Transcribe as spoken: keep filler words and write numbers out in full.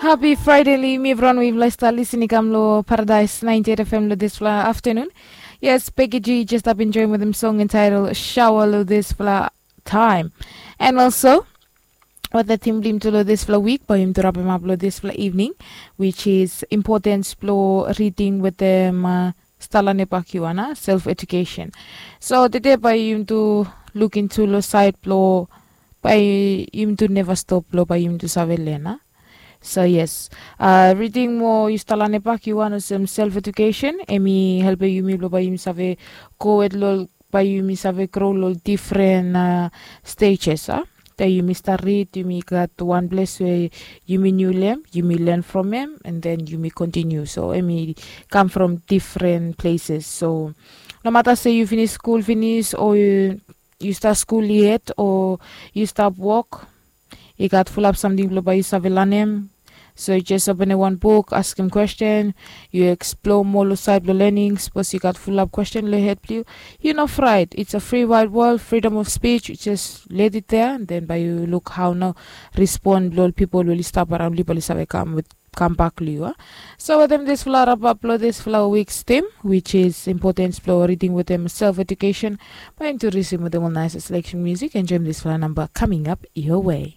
Hapi Fraide long yumi evriwan we yufala i stap lisin i kam long Paradais ninety eight F M long dispela aftanun. Yes, Peggy G just stap enjoyim wetem song entitled Shower long dispela time. And also, wat the theme bilong yumi tu long dispela wik, bai yumi tu rapim ap long dispela evening, which is importance bilong reading wetem uh, stala nepak yuana self education. So today bai yumi tu look into long side bilong bai yumi tu never stop bilong bai yumi tu save len. So yes, uh, reading mo yu stala nepak yuan olsem self education em i helpim yumi bilong bai yumi save go wet long bai yumi save grow long different uh, stages. Uh. Te yumi start read yumi gat one place we yumi new lem yumi learn from em and then yumi continue so em i come from different places. So no matter say you finish school finish or you, you start school yet or you start work, i gat fulap samting bilong bai yu save lanem. So yu jes openem wan buk askim kwesten, yu eksplor moa long sait bilong lening sapos yu gat fulap kwesten long hed bilong yu. Yu no frait, it's a free wide world, freedom of speech. Yu jes let it there and then bai yu luk hau nau respon bilong ol pipol we oli stap around yu bai oli save kam with kam bak long yu. So wetem dispela rapap long dispela weeks tim which is importance bilong reading wetem self education, bai yum tu risim wetem ol nice selection music enjoyim dispela namba coming up your way.